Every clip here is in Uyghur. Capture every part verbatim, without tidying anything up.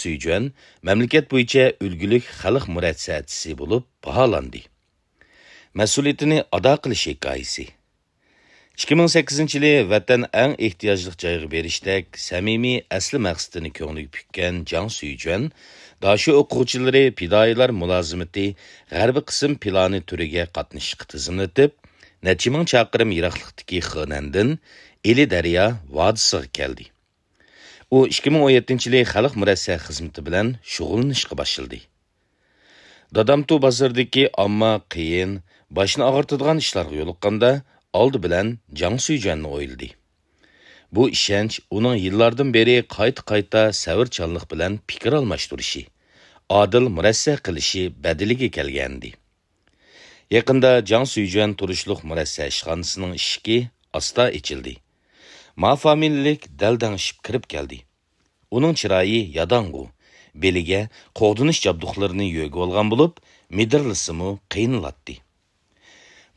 سۈيجۈەن مەملىكەت بويىچە ئۈلگىلىك خەلق مۇرەسسەچىسى بولۇپ باھالاندى. مەسئۇلىيىتىنى ئادا قىلىش ھېكايىسى. ئىككى مىڭ سەككىزىنچى يىلى ۋەتەن ئەڭ ئېھتىياجلىق جايغا بېرىشتەك سەمىمىي ئەسلى مەقسىتىنى كۆڭلىگە پۈككەن جاڭ سۈيجۈەن، داشۆ ئوقۇغۇچىلىرى پىدائىيلار مۇلازىمىتى غەربىي قىسىم پىلانى تۈرىگە قاتنىشىشقا تىزىملىتىپ، نەچچە مىڭ چاقىرىم يىراقلىقتىكى خېنەندىن ئىلى دەريا ۋادىسىغا كەلدى. ئۇ ئىككى مىڭ ئون يەتتىنچى يىلى خەلق مۇرەسسە خىزمىتى بىلەن شۇغۇللىنىشقا باشلىدى. دادامتۇ بازىرىدىكى ئامما قىيىن، باشنى ئاغرىتىدىغان ئىشلارغا يولۇققاندا، ئالدى بىلەن جاڭ سۈيجۈەننى ئويلىدى. بۇ ئىشەنچ ئۇنىڭ يىللاردىن بېرى قايتا-قايتا سەۋرچانلىق بىلەن پىكىر ئالماشتۇرۇشى، ئادىل مۇرەسسە قىلىشى بەدىلىگە كەلگەنىدى. يېقىندا جاڭ سۈيجۈەن تۇرۇشلۇق مۇرەسسە ئىشخانىسىنىڭ ئىشىكى ئاستا ئېچىلدى. ما فامىلىلىك دەلدەڭشىپ كىرىپ كەلدى. ئۇنىڭ چىرايى ياداڭغۇ، بېلىگە قوغدىنىش جابدۇقلىرىنى يۆگىۋالغان بولۇپ، مىدىرلىسىمۇ قىينىلاتتى.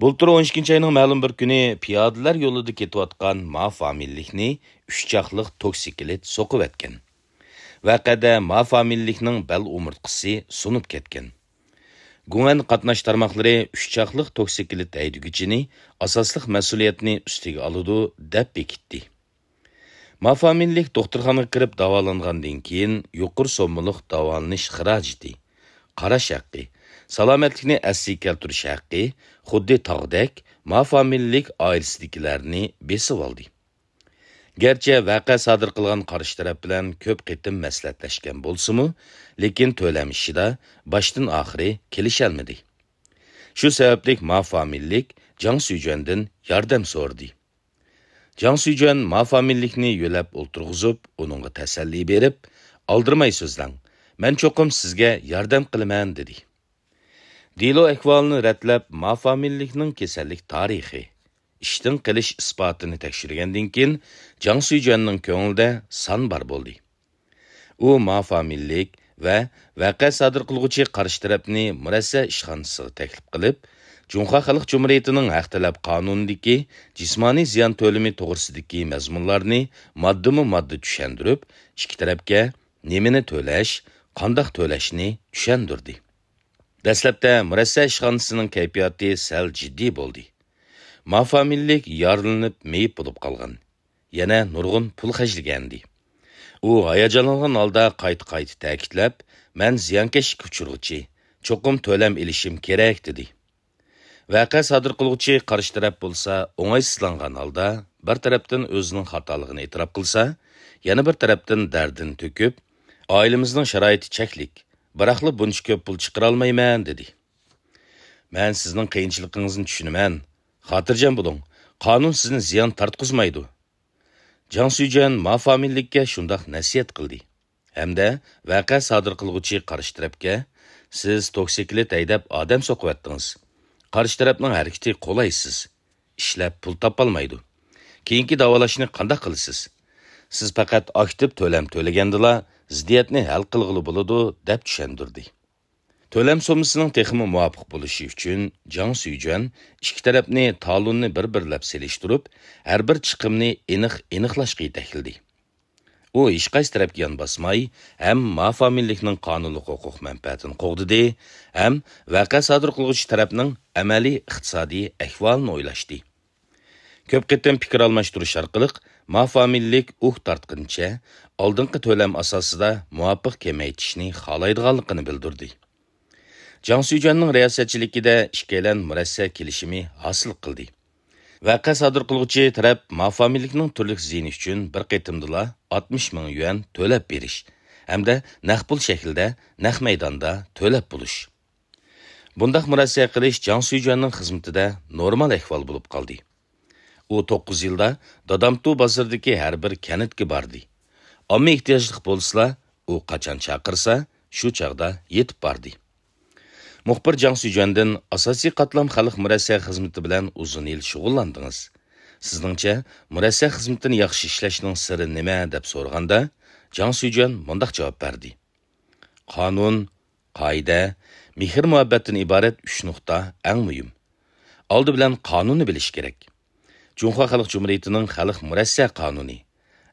بۇلتۇر ئون ئىككىنچى ئاينىڭ مەلۇم بىر كۈنى پىيادىلەر يولىدا كېتىۋاتقان ما فامىلىلىكنى ئۈچ چاقلىق توكسىكلىت سوقۇۋەتكەن. ۋەقەدە ما فامىلىلىكنىڭ بەل ئومۇرتقىسى سۇنۇپ كەتكەن. گۇڭئەن قاتناش تارماقلىرى ئۈچ چاقلىق توكسىكلىت ھەيدىگۈچىنى ئاساسلىق مەسئۇلىيەتنى ئۈستىگە ئالىدۇ، دەپ بېكىتتى. ما فامىلىلىك دوختۇرخانىغا كىرىپ داۋالانغاندىن كېيىن، يۇقىرى سوممىلىق داۋالىنىش خىراجىتى، قاراش ھەققى، سالامەتلىكنى ئەسلىگە كەلتۈرۈش ھەققى خۇددى تاغدەك ما فامىلىلىك ئائىلىسىدىكىلەرنى بېسىۋالدى. گەرچە ۋەقە سادىر قىلغان قارشى تەرەپ بىلەن كۆپ قېتىم مەسلىھەتلەشكەن بولسىمۇ، لېكىن تۆلەم ئىشىدا باشتىن ئاخىرى كېلىشەلمىدى. شۇ سەۋەبلىك ما فامىلىلىك جاڭ سۈيجۈەندىن ياردەم سورىدى. جاڭ سۈيجۈەن ما فامىلىلىكنى يۆلەپ ئولتۇرغۇزۇپ، ئۇنىڭغا تەسەللى بېرىپ، «ئالدىرىماي سۆزلەڭ، مەن چوقۇم سىزگە ياردەم قىلىمەن» دېدى. دېلو ئەھۋالىنى رەتلەپ، ما فامىلىلىكنىڭ كېسەللىك تارىخى، ئىشتىن قېلىش ئىسپاتىنى تەكشۈرگەندىن كېيىن، جاڭ سۈيجۈەننىڭ كۆڭلىدە سان بار بولدى. ئۇ ما فامىلىلىك ۋە ۋەقە سادىر قىلغۇچى قارشى تەرەپنى مۇرەسسە ئىشخانىسىغا تەكلىپ قىلىپ، جۇڭخۇا خەلق جۇمھۇرىيىتىنىڭ ھەق تەلەپ قانۇنىدىكى جىسمانىي زىيان تۆلىمى توغرىسىدىكى مەزمۇنلارنى ماددىمۇ ماددا چۈشەندۈرۈپ، ئىككى تەرەپكە نېمىنى تۆلەش، قانداق تۆلەشنى چۈشەندۈردى. دەسلەپتە مۇرەسسە ئىشخانىسىنىڭ كەيپىياتى سەل جىددىي بولدى. ما فامىلىلىك يارىلىنىپ مېيىپ بولۇپ قالغان. يەنە نۇرغۇن پۇل خەجلىگەنىدى. ئۇ ھاياجانلانغان ھالدا قايتا-قايتا تەكىتلەپ، «مەن زىيانكەشلىككە ئۇچرىغۇچى، چوقۇم تۆلەم ئېلىشىم كېرەك» دېدى. ۋەقە سادىر قىلغۇچى قارشى تەرەپ بولسا ئوڭايسىزلانغان ھالدا بىر تەرەپتىن ئۆزىنىڭ خاتالىقىنى ئېتىراپ قىلسا، يەنە بىر تەرەپتىن دەردىنى تۆكۈپ، «ئائىلىمىزنىڭ شارائىتى چەكلىك، بىراقلا بۇنچە كۆپ پۇل چىقىرالمايمەن» دېدى. «مەن سىزنىڭ قىيىنچىلىقىڭىزنى چۈشىنىمەن. خاتىرجەم بولۇڭ، قانۇن سىزنى زىيان تارتقۇزمايدۇ.» جاڭ سۈيجۈەن ما فامىلىلىككە شۇنداق نەسىھەت قىلدى ھەمدە ۋەقە سادىر قىلغۇچى قارشى تەرەپكە، «سىز توكسىكلىت ھەيدەپ ئادەم سوقۇۋەتتىڭىز. قارشى تەرەپنىڭ ھەرىكىتى قولايسىز. ئىشلەپ پۇل تاپالمايدۇ. كېيىنكى داۋالاشنى قانداق قىلىسىز؟ سىز پەقەت ئاكتىپ تۆلەم تۆلىگەندىلا زىددىيەتنى ھەل قىلغىلى بولىدۇ» دەپ چۈشەندۈردى. تۆلەم سوممىسىنىڭ تېخىمۇ مۇۋاپىق بولۇشى ئۈچۈن جاڭ سۈيجۈەن ئىككى تەرەپنى تالوننى بىر-بىرلەپ سېلىشتۇرۇپ، ھەر بىر چىقىمنى ئېنىق ئېنىقلاشقا يېتەكلىدى. ئۇ ھېچقايسى تەرەپكە يان باسماي، ھەم ما فامىلىلىكنىڭ قانۇنلۇق ھوقۇق مەنپەئەتىنى قوغدىدى، ھەم ۋەقە سادىر قىلغۇچى تەرەپنىڭ ئەمەلىي ئىقتىسادىي ئەھۋالىنى ئويلاشتى. كۆپ قېتىم پىكىر ئالماشتۇرۇش ئارقىلىق ما فامىلىلىك ئۇھ تارتقىنىچە ئالدىنقى تۆلەم ئاساسىدا مۇۋاپىق كېمەيتىشنى خالايدىغانلىقىنى بىلدۈردى. جاڭ سۈيجۈەننىڭ رىياسەتچىلىكىدە ئىككىيلەن مۇرەسسە كېلىشىمى ھاسىل قىلدى. ۋەقە سادىر قىلغۇچى تەرەپ ما فامىلىلىكنىڭ تۈرلۈك زىيىنى ئۈچۈن بىر قېتىمدىلا ئاتمىش مىڭ يۈەن تۆلەپ بېرىش ھەمدە نەق پۇل شەكلىدە نەق مەيداندا تۆلەپ بولۇش. بۇنداق مۇرەسسە قىلىش جاڭ سۈيجۈەننىڭ خىزمىتىدە نورمال ئەھۋال بولۇپ قالدى. ئۇ توققۇز يىلدا دادامتۇ بازىرىدىكى ھەر بىر كەنتكە باردى. ئامما ئېھتىياجلىق بولسىلا، ئۇ قاچان چاقىرسا، شۇ چاغدا يېتىپ باردى. مۇخبىر جاڭ سۈيجۈەندىن «ئاساسىي قاتلام خەلق مۇرەسسە خىزمىتى بىلەن ئۇزۇن يىل شۇغۇللاندىڭىز. سىزنىڭچە، مۇرەسسە خىزمىتىنى ياخشى ئىشلەشنىڭ سىرى نېمە؟» دەپ سورىغاندا، جاڭ سۈيجۈەن مۇنداق جاۋاب بەردى: «قانۇن، قائىدە، مېھىر-مۇھەببەتتىن ئىبارەت ئۈچ نۇقتا ئەڭ مۇھىم. ئالدى بىلەن قانۇننى بىلىش كېرەك. جۇڭخۇا خەلق جۇمھۇرىيىتىنىڭ خەلق مۇرەسسە قانۇنى،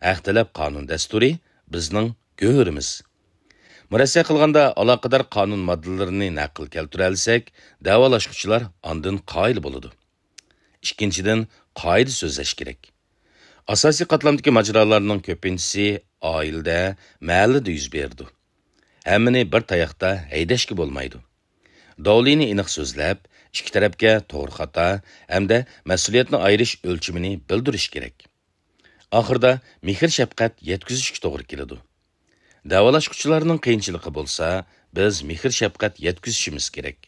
ھەق تەلەپ قانۇن دەستۇرى بىزنىڭ گۆھىرىمىز. مۇرەسسە قىلغاندا ئالاقىدار قانۇن ماددىلىرىنى نەقىل كەلتۈرەلىسەك، دەۋالاشقۇچىلار ئاندىن قايىل بولىدۇ. ئىككىنچىدىن، قائىدە سۆزلەش كېرەك. ئاساسىي قاتلامدىكى ماجىرالارنىڭ كۆپىنچىسى ئائىلىدە، مەھەللىدە يۈز بېرىدۇ. ھەممىنى بىر تاياقتا ھەيدەشكە بولمايدۇ. داۋلىنى ئېنىق سۆزلەپ، ئىككى تەرەپكە توغرا خاتا ھەمدە مەسئۇلىيەتنى ئايرىش ئۆلچىمىنى بىلدۈرۈش كېرەك. ئاخىرىدا مېھىر-شەپقەت يەتكۈزۈشكە توغرا كېلىدۇ. دەۋالاشقۇچىلارنىڭ قىيىنچىلىقى بولسا، بىز مېھىر-شەپقەت يەتكۈزۈشىمىز كېرەك.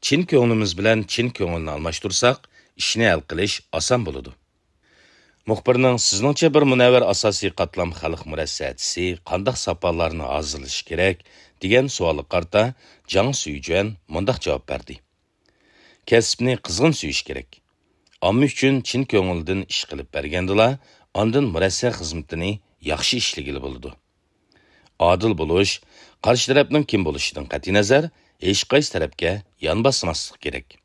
چىن كۆڭلىمىز بىلەن چىن كۆڭۈلنى ئالماشتۇرساق، ئىشنى ھەل قىلىش ئاسان بولىدۇ. مۇخبىرنىڭ «سىزنىڭچە بىر مۇنەۋۋەر ئاساسىي قاتلام خەلق مۇرەسسەچىسى قانداق ساپالارنى ھازىرلىشى كېرەك؟» دېگەن سوئالىغا قارىتا جاڭ سۈيجۈەن مۇنداق جاۋاب بەردى: «كەسىپنى قىزغىن سۆيۈش كېرەك. ئامما ئۈچۈن چىن كۆڭۈلدىن ئىش قىلىپ بەرگەندىلا، ئاندىن مۇرەسسە خىزمىتىنى ياخشى ئىشلىگىلى بولىدۇ. ئادىل بولۇش، قارشى تەرەپنىڭ كىم بولۇشىدىن قەتئىينەزەر، ھېچقايسى تەرەپكە يان باسماسلىق كېرەك.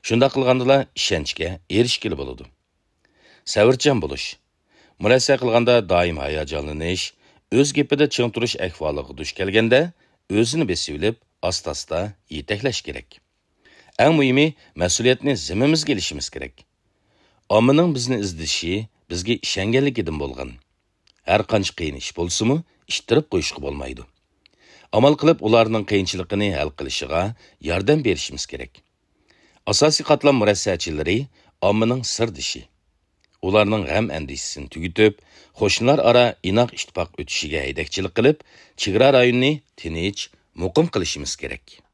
شۇنداق قىلغاندىلا ئىشەنچكە ئېرىشكىلى بولىدۇ. سەۋرچان بولۇش. مۇرەسسە قىلغاندا دائىم ھاياجانلىنىش، ئۆز گېپىدە چىڭ تۇرۇش ئەھۋالىغا دۇچ كەلگەندە، ئۆزىنى بېسىۋېلىپ، ئاستا-ئاستا يېتەكلەش كېرەك. ئەڭ مۇھىمى، مەسئۇلىيەتنى زىممىمىزگە ئېلىشىمىز كېرەك. ئاممىنىڭ بىزنى ئىزدىشى بىزگە ئىشەنگەنلىكىدىن بولغان. ھەر قانچە قىيىن ئىش بولسىمۇ، ئىتتىرىپ قويۇشقا بولمايدۇ. ئامال قىلىپ ئۇلارنىڭ قىيىنچىلىقىنى ھەل قىلىشىغا ياردەم بېرىشىمىز كېرەك. ئاساسىي قاتلام مۇرەسسەچىلىرى ئاممىنىڭ سىردىشى. ئۇلارنىڭ غەم-ئەندىشىسىنى تۈگىتىپ، قوشنىلار ئارا ئىناق ئىتتىپاق ئۆتۈشىگە ھەيدەكچىلىك قىلىپ، چېگرا رايونىنى تىنچ، مۇقىم قىلىشىمىز كېرەك.